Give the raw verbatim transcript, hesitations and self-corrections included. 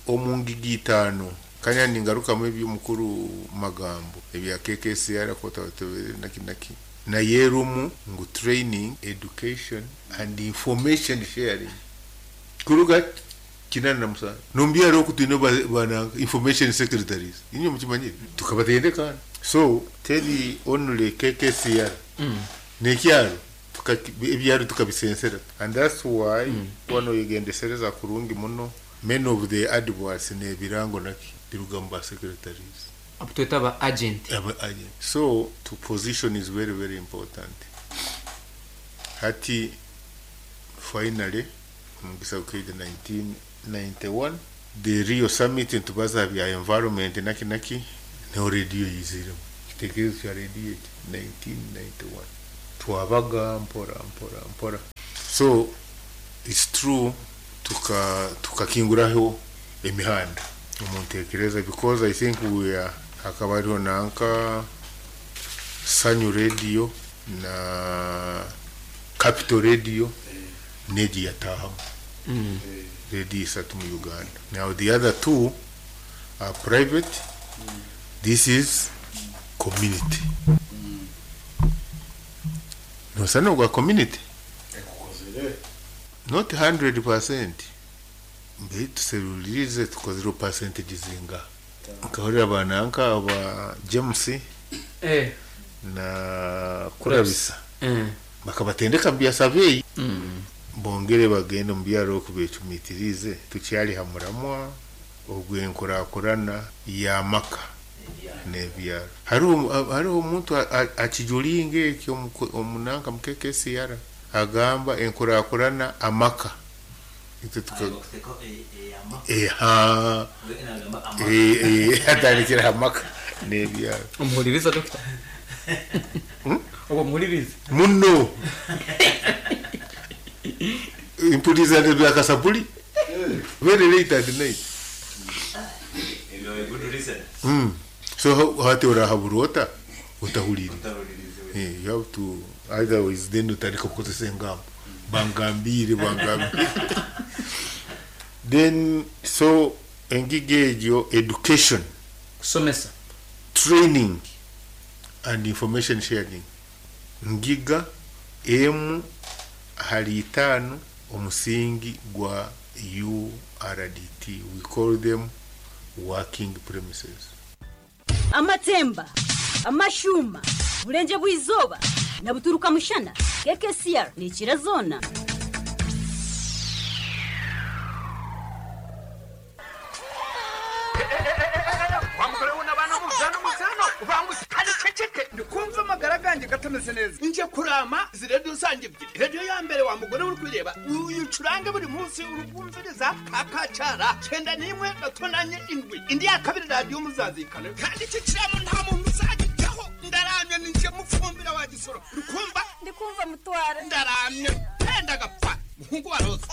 Omu ngiga itaano kanya ningarukamu eby'omukuru magambo ebya K K C R kotabatebere naki naki naye erumu ngu training, education and information sharing. Kuruga kinana na musanju nombyaro oku twine bana information secretaries, inywe mukimanyire, tukabatendeka. So teri only K K C R n'ekyaro, ebyaro tukabisensera, and that's why mm. wano oyegendesereza kurungi muno, many of the adverts n'ebirango naki biruga mu ba secretaries. Abo tweta aba agent. Aba agent. So to position is very, very important. Hati finally omugisa gukaija nineteen ninety-one, the Rio Summit, nitubaza bya environment naki naki, niho rediyo yiziremu. Kitekerezo kya rediyo eki nineteen ninety-one twabaga mpora mpora mpora. So it's true, tuka tukakinguraho emihanda omuntekereza, because I think we are, hakaba hariho nanka Sanyu Radio na Capital Radio negi yatahamu mm. radio isatu mu Uganda. Now the other two are private, this is community. Nosa nogwa community, not one hundred percent, mbe tuserulirize tukozire percentage zinga. Nkahurira bananka aba James eh. na Kurabisa eh. bakabatendeka mu bya survey, mm. bongere bagende mu byaro okubecumitirize. Tukyali ha muramwa ogw'enkurakurana y'amaka n'ebyaro. Hariho hariho omuntu akijulinga ekyo omunanka mu K K C R, agamba enkurakurana amaka itwe tuka eha atandikira amaka n'ebyaro. Omuhuliriza, dokita, oba omuhuliriza? Muno mpuliriza byakasapuli very late at night. mm. so hati orahabura ota otahulire? Eh, you have to, otherwise then utandika kukozesa engambo, bangambire, bangambire. Then so engiga egyo, education, kusomesa, training and information sharing, ngiga emu hali itaano omusingi gwa U R D T. We call them working premises. Amatemba, amashuma, burenge bw'izooba na buturuka mushana, K K C R nikira zoona. Wa mugore we n'abana muzano muzano ubanguse kandi ceceke, ndikumva amagara ganjye gatameze neza. Nje kurama izi radiyo zanjye ebyiri. Radiyo ya mbere, wa mugore uri kwireba, uyicurange buri munsi uri kumviriza kakacara cyenda n'imwe gatonanye indwi. Indi ya kabiri, radiyo muzazikane, kandi iki kiramo nta muntu uzagijyaho. Ndaramye ninjye mufumbira wa gisoro, uri kumva? Ndikumva, mutwara. Ndaramye penda gapfa muhungu wa Roza.